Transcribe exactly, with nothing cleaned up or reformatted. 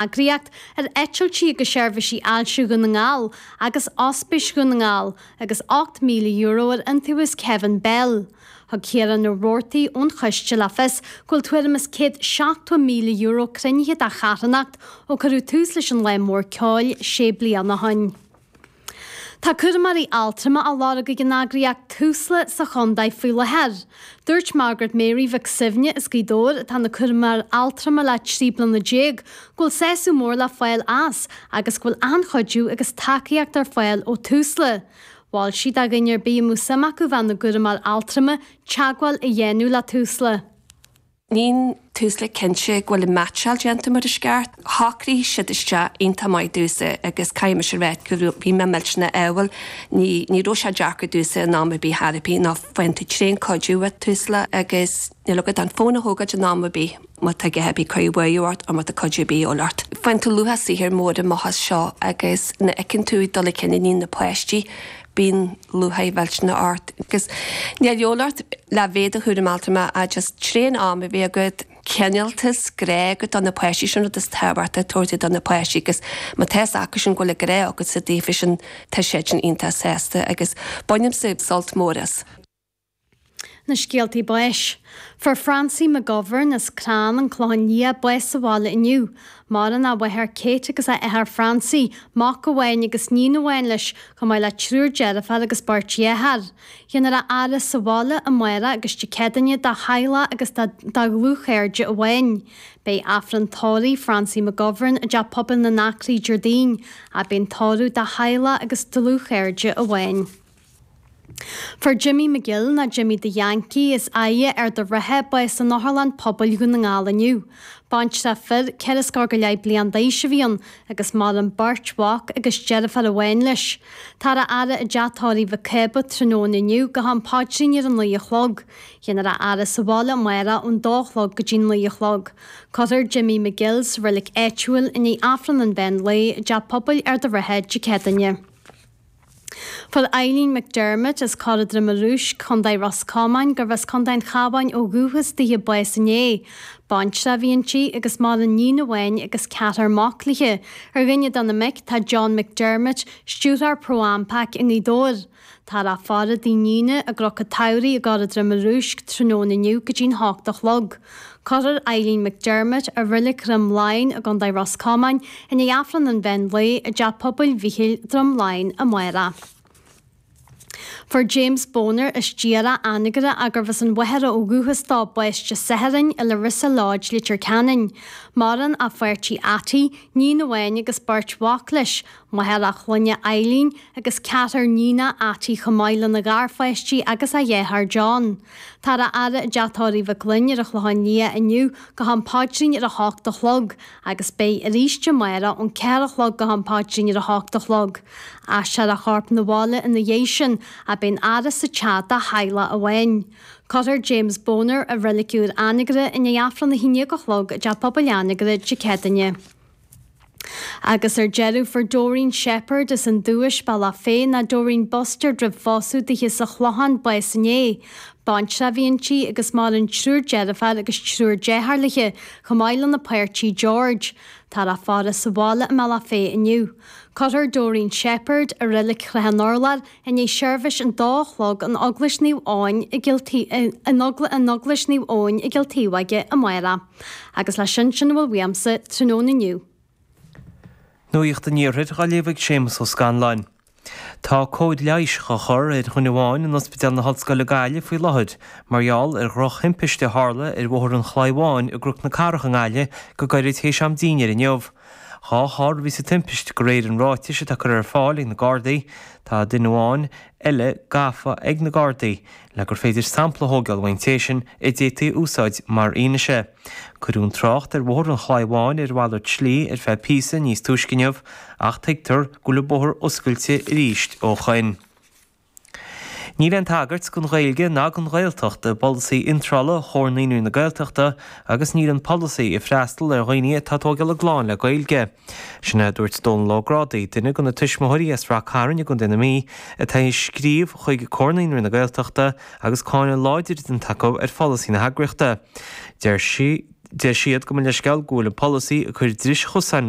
eagraíocht ar eitiltí agus seirbhísí ailse Dhún na nGall agus Ospís Dhún na nGall agus ocht míle euro ar iontaobhas Kevin Bell. Thug Ciarán Ó Roarty ón choiste le fios go bhfuil tuairim is céad seachtó míle euro cruinnithe dá charthanacht ó cuireadh tús leis an Lá Mór Ceoil sé bliana ó shin. Tá cúramóirí altrama á lorg ag an eagraíocht Tusla sa chontae faoi láthair. Dúirt Margaret Mary Mhic Suibhne as Gaoth Dobhair, atá ina cúramóir altrama le trí bliana déag, go bhfuil sásamh mór le fáil as agus go bhfuil an-chuidiú agus tacaíocht ar fáil ó Tusla. Mhol sí do dhuine ar bith a mbeadh suim acu bheith ina gcúramóir altrama teagmháil a dhéanamh le Tusla. Níl Tusla cinnte go bhfuil an meaitseáil déanta mar is ceart. Shocraigh siad isteach iontach maith domhsa agus caithfidh mise a rá go bhí mé millteanach ádhúil. Ní ní raibh sé deacair domhsa in am ar bith thar ar bith ná faigheann tú tréan-chuidiú ó Tusla agus níl agat ach an fón a thógáil in am ar bith má tá a dhath ar bith ag cur buaireamh ort or má tá cuidiú ar bith de dhíobháil ort. Faigheann tú luach saothair mór amach as seo agus nuair a fheiceann tú ag dul chun cinn na páistí bíonn lúcháir mhillteanach ort agus níl de dhíobháil ort le bheith i do chúramóir altrama ach just tréan am a bheith agat, cineáltas, grá agat do na páistí, sin rud is tábhachtaí tabhairt do na páistí agus má tá fhios acu sin go bhfuil grá agatsa daofa sin tá siad sin iontach sásta agus bainimse sult mór as. Na scéaltaí báis. Fuair Francie McGovern as Crann, An Clochán Liath, bás sa bhaile inniu. Maireann a mháthair Kate agus a athair Francie, mac amháin agus níon amháin leis, chomh maith le triúr deirfiúr agus beirt dheartháir. Déanfar a fhaire sa bhaile amárach agus Dé Céadaoine dá theaghlach agus dá dlúthchairde amháin. Beidh Aifreann tórraimh Francie McGovern i dTeach Pobail na nAcraí Déardaoin, ach beidh an tórramh dá theaghlach agus dlúthchairde amháin. Fuair Jimmy McGill, nó Jimmy the Yankee, as Aighe Ard an Rátha, bás in Otharlann Pobail Dhún na nGall inniu. Baintreach fir ceithre scór go leith bliain d'aois a bhí ann agus maireann beirt mhac agus deirfiúr amháin leis. Táthar á fhaire i dteach tórraimh Mhic Cába tráthnóna inniu go ham paidrín ar a naoi a chlog. Déanfar a fhaire sa bhaile amárach ón dó a chlog go dtí naoi a chlog. Cuirfear Jimmy McGill sa reilig áitiúil i ndiaidh Aifreann an mheán lae i dTeach Pobail Ard an Rátha Dé Céadaoine. Fuair Eileen McDermott as Corra Droma Rúisc, Contae Ros Comáin, gurbh as Contae an Chabháin ó dhúchas daoithe bás inné. Baintreach a bhí inti agus maireann níon amháin agus ceathrar mac léi. Ar dhuine de na mic tá John McDermott, stiúrthóir ProAmpac i nGaoth Dobhair. Táthar á faire i dtigh a níne i gCnoc an tSamhraidh i gCorra Droma Rúisc tráthnóna inniu go dtí'n hocht a chlog. Cuirfear Eileen McDermott i Reilig Dhroim Laighean i gContae Ros Comáin i ndiaidh Aifreann an mheán lae i dTeach Pobail Mhichíl Droim Laighean amárach. Fuair James Boner as Diarra Anagaire gurbh as an Mhachaire ó dhúchas dó bás Dé Sathairn i Larissa Lodge, Leitir Ceanainn. Maireann a pháirtí Atty, níon amháin agus beirt mhac leis, máthair a chlainne Eileen agus ceathrar níonach Atty chomh maith lena gharpháistí agus a dheartháir John. Táthar á fhaire i dTeach Tórraimh Mhic Fhloinn ar an Chlochán Liath inniu go ham paidrín ar a hocht a chlog agus beidh arís amárach ón ceathair a chlog go ham paidrín ar a hocht a chlog. Aistreofar a chorp 'na bhaile ina dhiaidh sin ach beidh an fhaire sa teach dá theaghlach amháin. Cuirfear James Boner i Reilig Úr Anagaire i ndiaidh Aifreann a haon déag a chlog i dTeach Pobail Anagaire Dé Céadaoine. Agus ar deireadh fuair Doreen Shepherd as an Dubhais Bealach Féich nó Doreen Buster roimh phósadh daoithe sa Chlochán bás inné. Baintreach a bhí inti agus maireann triúr deirfiúr agus triúr deartháir léi, chomh maith lena páirtí George. Táthar á faire sa bhaile i mBealach Féich inniu. Cuirfear Doreen Shepherd i Reilig Chloich an Urláir i ndiaidh seirbhís an dó a chlog in Eaglais Naomh Eoin i in Eaglais Naomh Eoin i gCill Taobh amárach. Agus leis sin sin a bhfuil uaimse tráthnóna inniu. Nuacht an Iarthair á léamh ag Séamus Ó Scanláin. Tá cóir leighis á chur ar dhuine amháin in Ospidéal na hOllscoile Gaillimh faoi láthair, mar gheall ar dhrochthimpiste a tharla ar Bhóthar an Chlaí Bháin i gCnoc na Cathrach i nGaillimh go gairid théis am dinnéir inniu. Dhá charr a bhí sa timpist de réir an ráitis atá curtha ar fáil ag na Gardaí. Tá duine amháin eile gafa ag na Gardaí le gur féidir sampla a thógáil ón té sin a d'fhéadfaí a úsáid mar fhianaise. Cuireadh an trácht ar Bhóthar an Chlaí Bháin ar mhalairt slí ar feadh píosa níos túisce inniu ach tuigtear go bhfuil an bóthar oscailte arís ó shoin. Níl aon tagairt don Ghaeilge ná don Ghaeltacht i bpolasaí iontrála Chomhar Naíonraí na Gaeltachta agus níl an polasaí ag freastal ar dhaoine atá ag tógáil a gclann le Gaeilge. Sin é a dúirt Dónal Ó Grádaigh, duine de na tuismitheoirí as Rath Cairn i gContae na Mí, atá ag scríobh chuig Comhar Naíonraí na Gaeltachta agus cáineadh láidir déanta acu ar pholasaí na heagraíochta. Deir sí Deir siad gabh mo leithscéal go bhfuil an polasaí ag cur dris chosáin